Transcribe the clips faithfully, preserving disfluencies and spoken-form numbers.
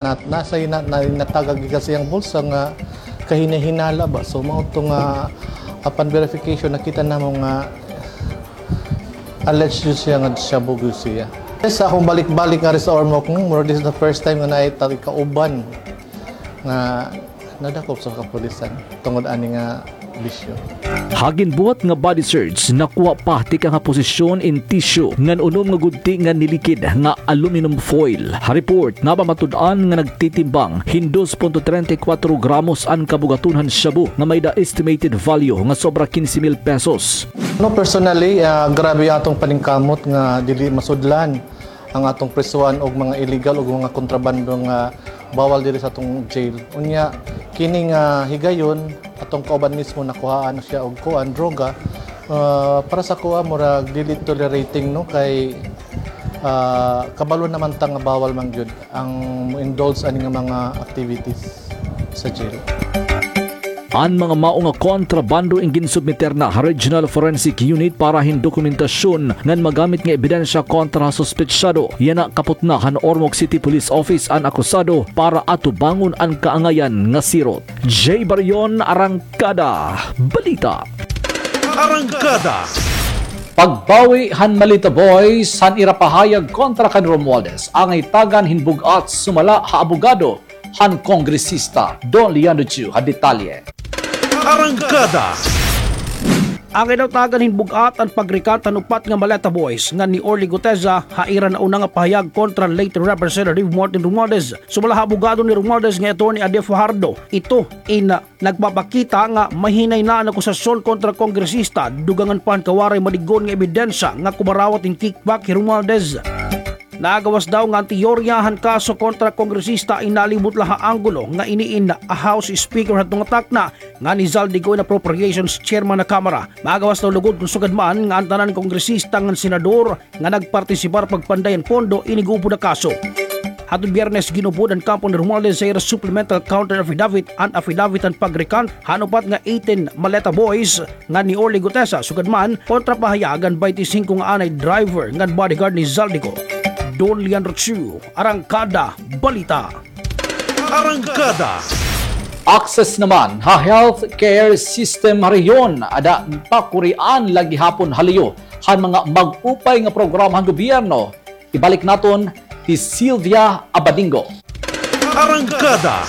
Nasa ina, na, natagag gikan sa iyang bulsa nga kahinahinala ba. So, mao to nga, upon verification, nakita namo nga alleged siya nga shabu gyud siya. Sa akong balik-balik nga rin sa Ormoc, hmm, mura, this is the first time nga naay tag-, kauban nga nadakop sa kapulisan tungod ani nga bisyo. Ha ginbuhat nga body search, nakuha pa tikang ha posesyon in tissue ngan unom nga gudti nga nilikid nga aluminum foil. Ha report, napamatud-an nga nagtitimbang hin dos punto treinta y cuatro gramos an kabugaton han shabu nga may-ada estimated value nga sobra quince mil pesos. No, personally, ah, grabe atong paningkamot nga dili masudlan ang atong presuhan og mga illegal ug mga kontrabando nga bawal diri sa atong jail. Unya, kini nga higayon, atong kauban mismo nakuhaan na siya og kuan, droga. Ah, para sa kuan, murag dili tolerating, no, kay, ah, kabalo naman ta nga bawal man gyud ang mo-indulge ani nga mga activities sa jail. An mga mao nga kontrabando in ginsubmiter na ha Regional Forensic Unit para hin dokumentasyon ngan magamit nga ebidensya kontra ha suspetsado. Yana kaputna han Ormoc City Police Office an akusado para atubangon an kaangayan nga sirot. Jay Barion, Arangkada Balita. Arangkada. Pagbawi han Maleta Boys han ira pahayag kontra kan Romualdez, angay tagan hin bug-at sumala ha abogado han kongresista. Don Leandro Chu ha detalye. Arangkada. Angay daw tagan hin bug-at an pag-recant han upat nga Maleta Boys ngan ni Orly Guteza ha ira nauna nga pahayag kontra late Representative Martin Romualdez. Sumala ha abogado ni Romualdez nga Attorney Ade Fajardo, ito in nagpapakita nga mahinay na an akusasyon kontra kongresista, dugangan pa han kawaray malig-on nga ebidensya nga kumarawat hin kickback hi Romualdez. Nagawas daw nga an teorya han kaso kontra kongresista in nalibot la ha anggulo nga ini in a House Speaker hadto nga takna ngan hi Zaldy Co in Appropriations Chairman ha Kamara. Magawas daw lugod kon sugad man nga an tanan kongresista ngan senador nga nagpartisipar pagpanday han pondo ini gupod a kaso. Hadton Biyernes, gin-upod han kampo ni Romualdez sa ira supplemental counter affidavit an affidavit han pag-recant han upat nga eighteen Maleta Boys ngan ni Orly Guteza, sugad man kontra pahayag han baynte singko nga anay driver ngan bodyguard ni Zaldy Co. Don Leandro Chu, Arangkada Balita. Arangkada. Access naman ha healthcare system ha rehiyon, ada pakurian la gihapon ha luyo han mga mag-upay nga programa han gobyerno. Ibalik naton hi Sylvia Abadingo. Arangkada.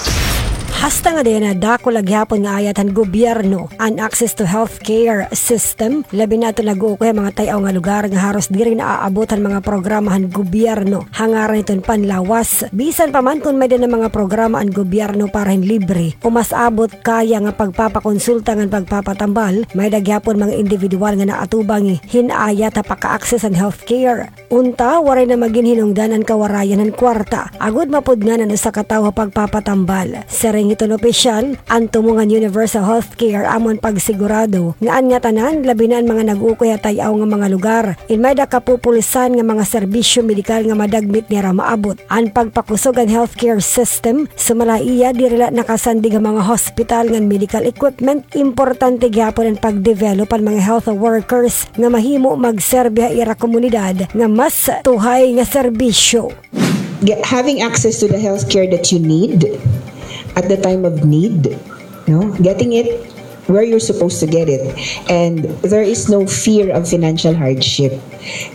Hasta ngada yana dako la gihapon nga ayat han gobyerno an access to healthcare system, labi na adton nag-uukoy ha mga tay-aw nga lugar nga haros diri naaabot han mga programa han gobyerno. Ha ngaran hiton panlawas, bisan pa man kon may-ada na mga programa an gobyerno para hin libre o mas abot kaya nga pagpapakonsulta ngan pagpapatambal, may-ada gihapon mga indibidwal nga naatubang hin ayat ha paka-access han healthcare. Unta, waray na magin hinungdan an kawarayan han kwarta agod mapudngan an usa ka tawo ha pagpapatambal. Siring hiton opisyal, an tumong han universal healthcare amo an pagsigurado nga an ngatanan, labi na an mga nag-uukoy ha tay-aw nga mga lugar, in may-ada kapupulsan nga mga serbisyo medikal nga madagmit nira maabot. An pagpakusog han healthcare system, sumala ha iya, diri la nakasandig ha mga hospital ngan medical equipment, importante gihapon an pag-develop han mga health workers nga mahimo magserbi ha ira komunidad nga mas tuhay nga serbisyo. Get, having access to the healthcare that you need at the time of need, no? Getting it where you're supposed to get it. And there is no fear of financial hardship.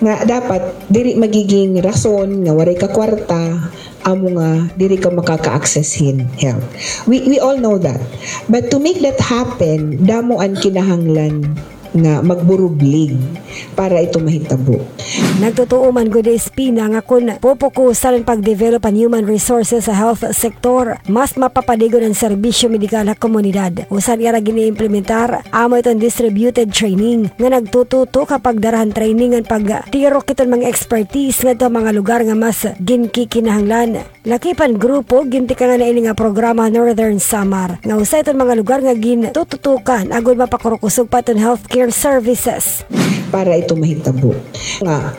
Nga dapat, diri magiging rason nga waray ka kwarta, amo nga diri ka makaka-access hin health. We, we all know that. But to make that happen, damo an kinahanglan nga magburublig para ito mahitabo. Nagtutuo man gud hi Espina nga kon pupukusan an pag-develop an human resources sa health sector, mas mapapaligon an serbisyo medikal ha komunidad. Usa han ira gin-iimplementar, amo iton distributed training nga nagtututok ha pagdara han training ngan pagtirok hiton mga expertise ngadto ha mga lugar nga mas ginkikinahanglan. Lakip han grupo, gintikangan na ini nga programa ha Northern Samar, nga usa iton mga lugar nga gintututukan agod mapakurukusog pa iton healthcare services. Para ito mahitabo. Nga,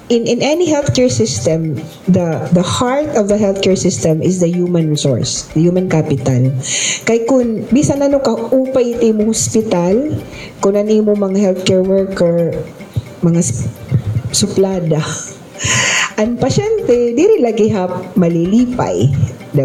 in, in any healthcare system, the, the heart of the healthcare system is the human resource, the human capital. Kay kun bisan ano ka upay it imo hospital, kun an imo mga healthcare worker, mga s-, suplada, an pasyente, diri la gihap malilipay.